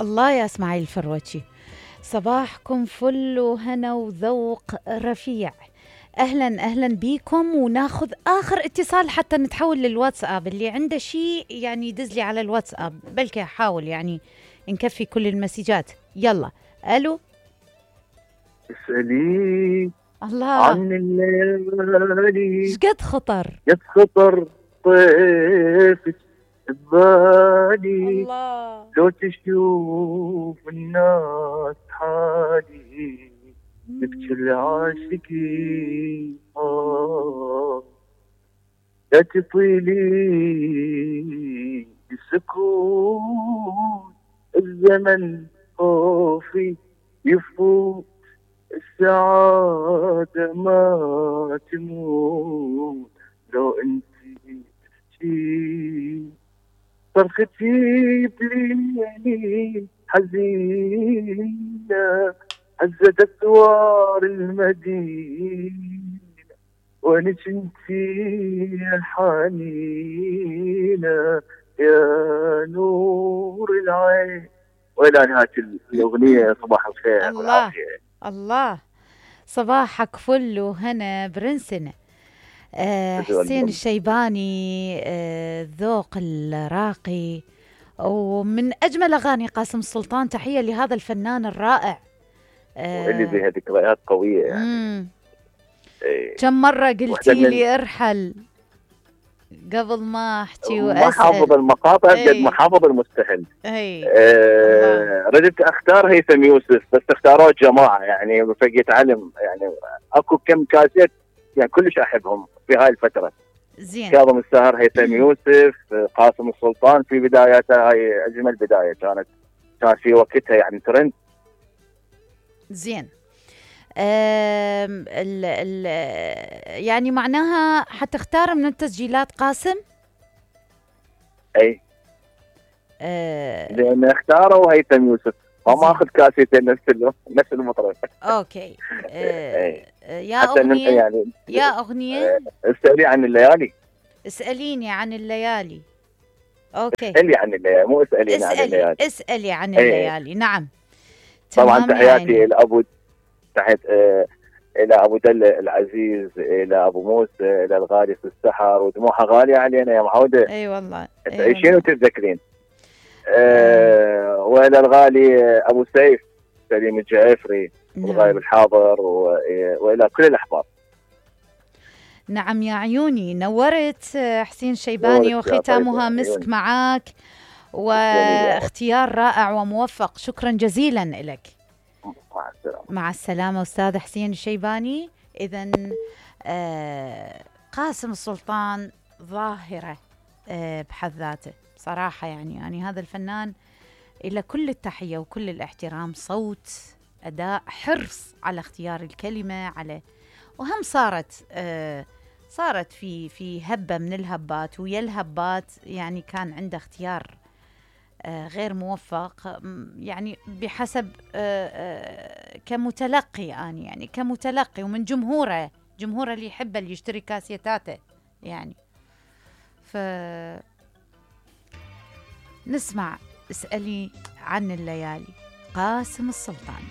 الله يا اسماعيل الفروتشي، صباحكم فل وهنا وذوق رفيع. اهلا اهلا بيكم، وناخذ اخر اتصال حتى نتحول للواتساب. اللي عنده شيء يعني يدز لي على الواتساب، بلكي احاول يعني نكفي كل المسجات. يلا الو. اسألي الله، عن الليالي شقد خطر قد خطر طيفك ببالي، الله. لو تشوف الناس حالي تبكي العاشقين لا تطيلي السكون، الزمن خوفي يفوت، السعادة ما تموت لو انت تحكي، صرختي بليلي حزينة هزت أسوار المدينة، وانك انتي حنينة يا نور العين. والى نهاية الأغنية. صباح الخير والعافية. الله، صباحك فل وهنا برنسنا. حسين الشيباني، الذوق الراقي ومن أجمل أغاني قاسم السلطان. تحية لهذا الفنان الرائع. واللي بها ذكريات قوية يعني. كم مرة قلتي لي ارحل قبل ما احكي واسال. ما حافظ المقاطع قد ما حافظ المستهل. ردت اختار هيثم يوسف، بس اختاروه جماعه يعني فقيت علم، يعني اكو كم كاسيت يعني كلش احبهم في هاي الفتره. زين. كاظم الساهر، هيثم يوسف، قاسم السلطان في بداياتها، هاي اجمل بدايه كانت في وقتها يعني ترند. زين. يعني معناها حتختار من التسجيلات قاسم؟ اي. لان اختاروا هيثم يوسف، فما اخذ كاسيتين نفس المطرب. اوكي. يا اغنيه يعني يا اغنيه اسالي عن الليالي. اساليني عن الليالي. اوكي. اسالي عن الليالي، مو اساليني عن الليالي. اسالي عن الليالي. نعم. طبعا تحياتي لابو، تحيات الى ابو دل العزيز، الى ابو موسى، الى الغالي في السحر، ودموعها غاليه علينا يا معوده. اي والله تعيشين وتتذكرين. والى الغالي ابو سيف سليم الجعفري، الغايب الحاضر، والى كل الاحباب. نعم يا عيوني، نورت حسين شيباني، وختامها مسك معاك، واختيار رائع وموفق. شكرا جزيلا لك. مع السلامة. مع السلامة أستاذ حسين الشيباني. إذن قاسم السلطان ظاهرة بحد ذاته صراحة. يعني هذا الفنان إلى كل التحية وكل الاحترام. صوت، أداء، حرص على اختيار الكلمة، على وهم صارت في هبة من الهبات، ويا الهبات يعني كان عنده اختيار غير موفق، يعني بحسب كمتلقي أنا، يعني كمتلقي، ومن جمهوره اللي يحبه، اللي يشتري كاسيتاته يعني. نسمع اسألي عن الليالي، قاسم السلطان.